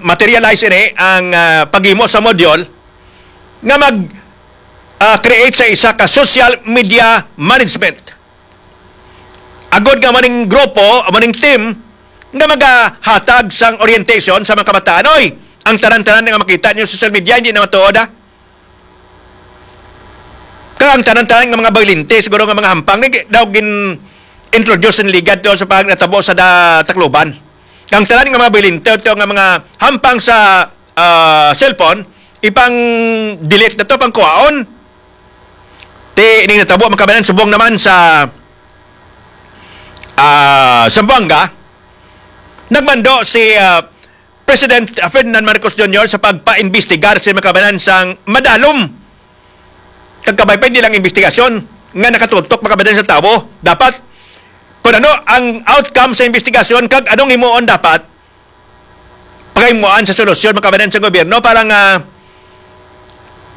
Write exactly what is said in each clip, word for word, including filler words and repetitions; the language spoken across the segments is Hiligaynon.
materialize ini ang, ah, paghimo sa module nga mag, ah, create sa isa ka social media management. Agod nga maning grupo, maning team nga magahatag sang orientation sa mga kabataan. Oy, ang tanan-tanan nga makita niyo sa social media, hindi na matuod, ha? Kag ang tanan-tanan nga mga bayolente, siguro nga mga hampang, ni daw gin-introduce ni Ligad to sa pag natabo sa da-, Tacloban. Kang tanan nga mga bayolente, to nga mga hampang sa, ah, cellphone, ipang-delete na to, pang kuhaon. Ti, ining natabo, mga kababayan, subong naman sa, ah, Zamboanga, nagmando si, ah, President Ferdinand Marcos Junior sa pagpaimbestigar sa mga kababayan sang madalom kag kabay pa nilang investigasyon nga nakatutok, mga kababayan, sa tawo. Dapat, kung ano ang outcome sa investigasyon kag anong himuon dapat, paghimuan sa solusyon, mga kababayan, sa gobyerno para nga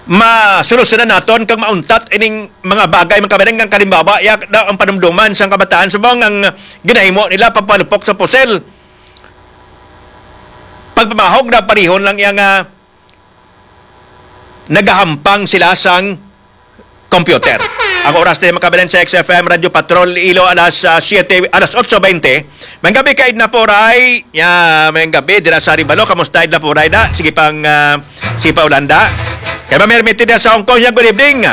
masolusyonan naton kag mauntat ining mga bagay, mga kababayan, nga kalimbawa, ya, daw ang panumduman sang kabataan subong ang ginahimo nila pagpalupok sa pusil. Pagpamahog na parihon lang iya nga nagahampang sila sang computer. Ang oras na, mga kababayan, sa X F M Radyo Patrol Iloilo, alas, ah, siyete, alas otso bente. Mayong gabi kay Edna Poray. Ya, mayong gabi dira sa Arevalo. Kamusta, Edna Poray, da? Sige pang, ah, sige pa, Olanda. Kay Ma'am Hermity dira sa Hong Kong, ya, good evening.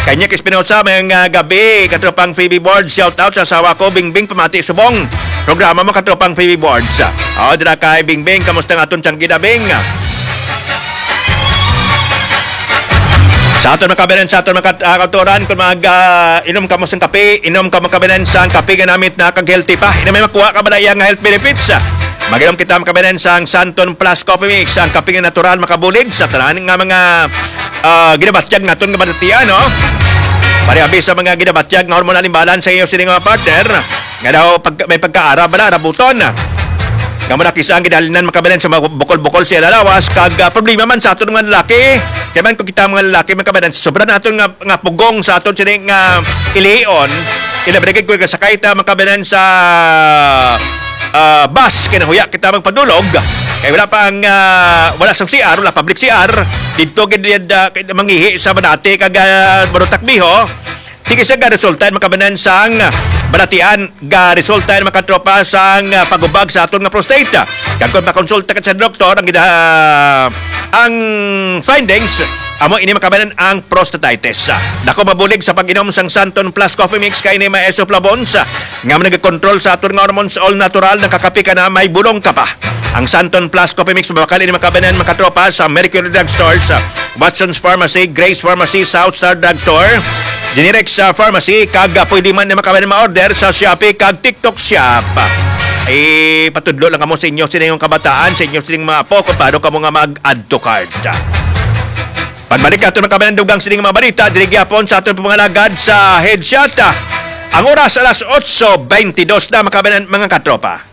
Kay Nick Espinosa, mayong, ah, gabi. Katropang Phoebe Board, shout out sa asawa ko, Bingbing, pamati subong programa mo, katropang Phoebe Boards. Oh, dira kay Bingbing, kamusta nga aton tiyang gidabing? Sa aton mga kababayan, sa aton mga kat-, ah, kautoran, kung mag, ah, inom ka mo sang kape, inom ka mo kababayan sang kape nga namit na kag healthy pa. Ina may makuha ka ba na iya nga health benefits? Mag-inom kita mga kababayan sang Santon Plus Coffee Mix, ang kape nga natural makabulig sa tanan nga mga, ah, ginabatyag naton nga balatian, no? Pariabi sa mga ginabatyag nga hormonal imbalance sa iyo sining mga partner, nga daw pag, may pagkaara bala, rabuton. Nga mo na kisa ang gidalinan, mga kababayan, sa mga bukol-bukol sa ila lawas, kag, ah, problema man sa aton mga lalaki. Kaya man kung kita mga lalaki, mga kababayan, sobra naton nga, nga pugong sa aton sining nga ilion, ilabrigid ko kasakay ta, mga kababayan, sa, ah, bus, kinahuya kita magpadulog. Kay wala pa ang, ah, wala sang C R, wala public C R. Dito gid, ah, mangihi sa Banate kag, ah, Barotakbiho. Sige siya ga resulta, mga kababayan, sang balatian, ga resulta, mga katropa, sang, ah, pagubag sa aton nga prostate. Kag kung makonsulta ka sa doktor, ang gida-, ang findings, amo ini, mga kababayan, ang prostatitis. Dako mabulig sa pag-inom sang Santon Plus Coffee Mix kay ini may isoflavones, ah, nga nagakontrol sa aton nga hormones, all natural, nakakapi ka na, may bulong ka pa. Ang Santon Plus Coffee Mix mabakal ini, mga kababayan, mga katropa, sa Mercury Drug Store, sa Watson's Pharmacy, Grace Pharmacy, South Star Drug Store, Generics, ah, Pharmacy, kag, ah, pwede man ni, mga kababayan, ma-order sa Shopee kag TikTok Shop. Ipatudlo lang kamo sa inyo, sa inyong kabataan, sa inyo sining mga apo, kung paano kamo nga mag-add to cart. Pagbalik nato, mga kababayan, dugang sining mga balita, diri gyapon sa aton pangalagad sa Headshot. Ang oras alas otso beintidos na, mga kababayan, mga katropa.